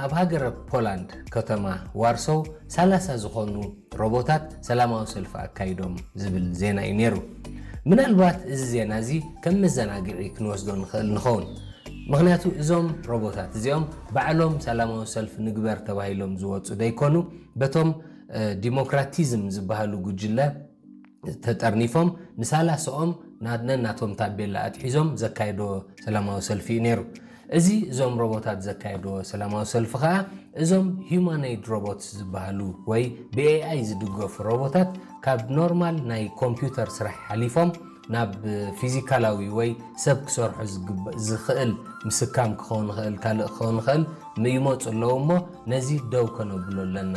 ኣብ ሃገረ ፖላንድ ከተማ ዋርሶው ሰላሳ ዝኾኑ ሮቦታት ሰላማዊ ሰልፊ ኣካይዶም ዝብል ዜና እዩ ነይሩ። ምናልባት እዚ ዜና እዚ ከም መዘናግዒ ክንወስዶ ንኽእል ንኸውን። ምኽንያቱ እዞም ሮቦታት እዚኦም ባዕሎም ሰላማዊ ሰልፊ ንግበር ተባሂሎም ዝወፁ ደይኮኑ፣ በቶም ዲሞክራቲዝም ዝበሃሉ ጉጅለ ተጠርኒፎም ንሳላስኦም ናነናቶም ታቤላ ኣትሒዞም ዘካየድዎ ሰላማዊ ሰልፊ እዩ ነይሩ። እዚ እዞም ሮቦታት ዘካየድዎ ሰላማዊ ሰልፊ ከዓ እዞም ሂዩማኖይድ ሮቦትስ ዝበሃሉ ወይ ብኤኣይ ዝድገፉ ሮቦታት ካብ ኖርማል ናይ ኮምፒውተር ስራሕ ሓሊፎም ናብ ፊዚካላዊ ወይ ሰብ ክሰርሖ ዝኽእል ምስካም ክኸውን ይኽእል፣ ካልእ ክኸውን ይኽእል፣ ይመፁ ኣለዉ እሞ ነዚ ደው ከነብሎ ኣለና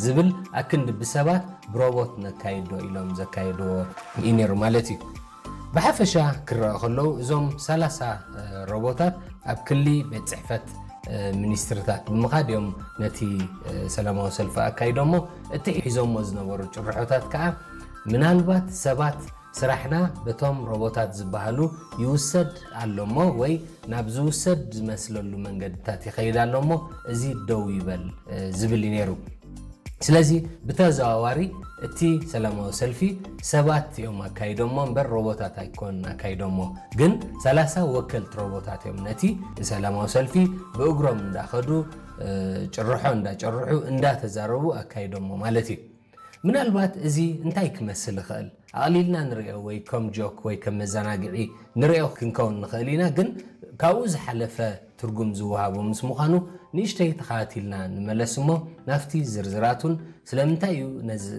ዝብል ኣክንዲ ብሰባት ብሮቦት ነካይዶ ኢሎም ዘካየድዎ እዩ ነይሩ ማለት እዩ። ብሓፈሻ ክረኣ ከለዉ እዞም ሰላሳ ሮቦታት ኣብ ክሊ ቤት ፅሕፈት ሚኒስትርታት ብምኻድ እዮም ነቲ ሰላማዊ ሰልፊ ኣካይዶሞ። እቲ ሒዞሞ ዝነበሩ ጭርሖታት ከዓ ምናልባት ሰባት ስራሕና በቶም ሮቦታት ዝበሃሉ ይውሰድ ኣሎሞ ወይ ናብ ዝውሰድ ዝመስለሉ መንገድታት ይኸይድ ኣሎሞ እዚ ደው ይበል ዝብል እዩ ነይሩ። ስለዚ ብተዘዋዋሪ እቲ ሰላማዊ ሰልፊ ሰባት እዮም ኣካይዶሞ እምበር ሮቦታት ኣይኮን ኣካይዶሞ። ግን ሰላሳ ወከልቲ ሮቦታት እዮም ነቲ ሰላማዊ ሰልፊ ብእግሮም እንዳኸዱ ጭርሖ እንዳጨርሑ እንዳተዛረቡ ኣካይዶሞ ማለት እዩ። ምናልባት እዚ እንታይ ክመስል ይኽእል ኣቕሊልና ንሪኦ ወይ ከም ጆክ ወይ ከም መዘናግዒ ንሪኦ ክንከውን ንኽእል ኢና። ግን ካብኡ ዝሓለፈ ትርጉም ዝወሃቦ ምስ ምዃኑ ንእሽተይ ተኸታቲልና ንመለስ እሞ ናብቲ ዝርዝራቱን ስለምንታይ እዩ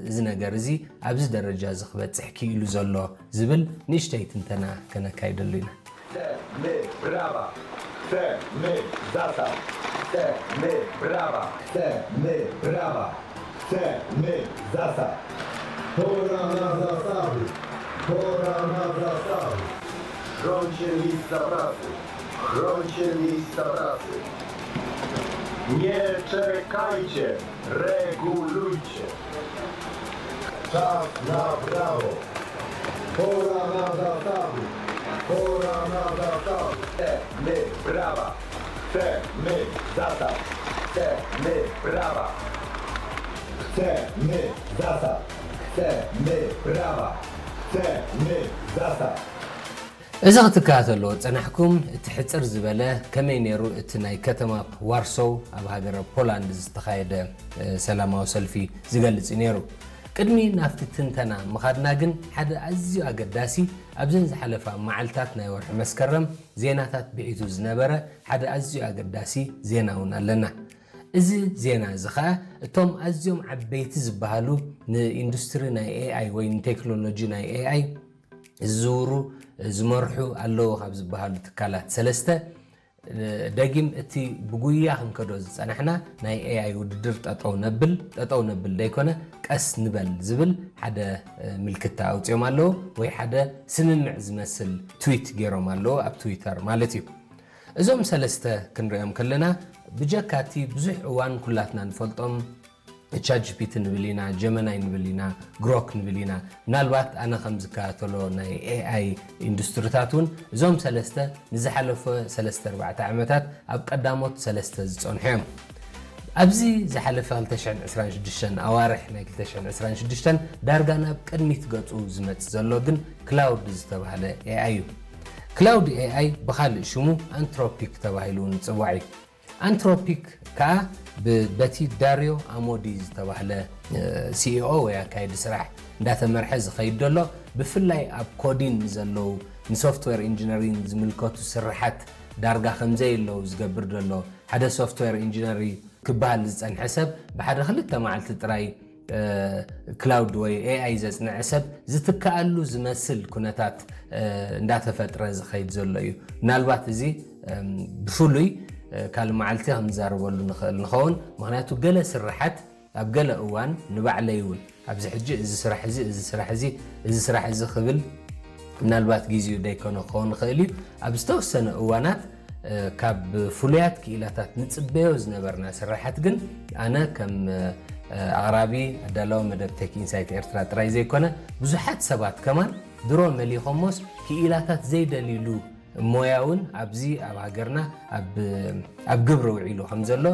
እዚ ነገር እዚ ኣብዚ ደረጃ እዚ ክበፅሕ ክኢሉ ዘሎ ዝብል ንእሽተይ ትንተና ከነካይደሉ ኢና። Te me brava, te me zasa, te me brava, te me brava, te me zasa. Pora na zasawy, pora na zasawy. Chroncie miejsca pracy, chroncie miejsca pracy. Nie czekajcie, regulujcie. Czas na brawo. Pora na zasawy, pora na zasawy. Te my brawa, te my zasa, te my brawa. Te my zasa, te my brawa, te my zasa. እዚ ክትከታተልዎ ዝጸናሕኩም እቲ ሕጽር ዝበለ ከመይ ነይሩ እቲ ናይ ከተማ ዋርሶው ኣብ ሃገረ ፖላንድ ዝተኻየደ ሰላማዊ ሰልፊ ዝገልጽ እዩ ነይሩ። ቅድሚ ናብቲ ትንተና ምኻድና ግን ሓደ ኣዝዩ ኣገዳሲ ኣብዘን ዝሓለፋ መዓልታት ናይ ወርሒ መስከረም ዜናታት ብዒቱ ዝነበረ ሓደ ኣዝዩ ኣገዳሲ ዜና እውን ኣለና። እዚ ዜና እዚ ኸኣ እቶም ኣዝዮም ዓበይቲ ዝበሃሉ ንኢንዱስትሪ ናይ ኤኣይ ወይ ንቴክኖሎጂ ናይ ኤኣይ ዝዝውሩ ዝመርሑ ኣለዉ ካብ ዝበሃሉ ትካላት ሰለስተ ደጊም እቲ ብጉያ ክንከዶ ዝጸናሕና ናይ ኤኣይ ውድድር ጠጠው ነብል ጠጠው ነብል ደይኮነ ቀስ ንበል ዝብል ሓደ ምልክታ ኣውፅኦም ኣለዉ ወይ ሓደ ስምምዕ ዝመስል ትዊት ገይሮም ኣለዉ ኣብ ትዊተር ማለት እዩ። እዞም ሰለስተ ክንሪኦም ከለና ብጀካቲ ብዙሕ እዋን ኩላትና ንፈልጦም ቻት ጂፒቲ ንብል ኢና፣ ጀመናይ ንብል ኢና፣ ግሮክ ንብል ኢና። ምናልባት ኣነ ከም ዝከታተሎ ናይ ኤኣይ ኢንዱስትሪታት እውን እዞም ሰለስተ ንዝሓለፈ ሰለስተ ኣርባዕተ ዓመታት ኣብ ቀዳሞት ሰለስተ ዝጸንሑ እዮም። ኣብዚ ዝሓለፈ ክልተ ሽሕን ዕስራን ሽዱሽተን ኣዋርሕ ናይ ክልተ ሽሕን ዕስራን ሽዱሽተን ዳርጋ ናብ ቅድሚት ገጹ ዝመጽእ ዘሎ ግን ክላውድ ዝተባህለ ኤኣይ እዩ። ክላውድ ኤኣይ ብኻልእ ሽሙ ኣንትሮፒክ ተባሂሉ እውን ይጽዋዕ እዩ። ኣንትሮፒክ ከኣ በቲ ዳርዮ ኣሞዲ ዝተባህለ ሲኢኦ ወይ ኣካየዲ ስራሕ እንዳተመርሐ ዝኸይድ ዘሎ ብፍላይ ኣብ ኮዲን ንዘለዉ ንሶፍትዌር ኢንጂነሪን ዝምልከቱ ስርሓት ዳርጋ ከምዘየለዉ ዝገብር ዘሎ ሓደ ሶፍትዌር ኢንጂነሪ ክበሃል ዝጸንሐ ሰብ ብሓደ ክልተ መዓልቲ ጥራይ ክላውድ ወይ ኤኣይ ዘጽንዐ ሰብ ዝትከኣሉ ዝመስል ኩነታት እንዳተፈጥረ ዝኸይድ ዘሎ እዩ። ምናልባት እዚ ብፍሉይ ካልእ መዓልቲ ክንዛረበሉ ንኽእል ንኸውን። ምኽንያቱ ገለ ስርሓት ኣብ ገለ እዋን ንባዕለይ እውን ኣብዚ ሕጂ እዚ ስራሕ እዚ እዚ ስራሕ እዚ እዚ ስራሕ እዚ ክብል ምናልባት ግዜኡ ደይኮነ ክኸውን ይኽእል እዩ። ኣብ ዝተወሰነ እዋናት ካብ ፍሉያት ክኢላታት ንጽበዮ ዝነበርና ስራሓት ግን ኣነ ከም ኣቕራቢ ኣዳላዊ መደብ ቴክ ኢንሳይት ኤርትራ ጥራይ ዘይኮነ ብዙሓት ሰባት ከማን ድሮ መሊኾሞስ ክኢላታት ዘይደልይሉ ሞያ እውን ኣብዚ ኣብ ሃገርና ኣብ ግብሪ ውዒሉ ከም ዘሎ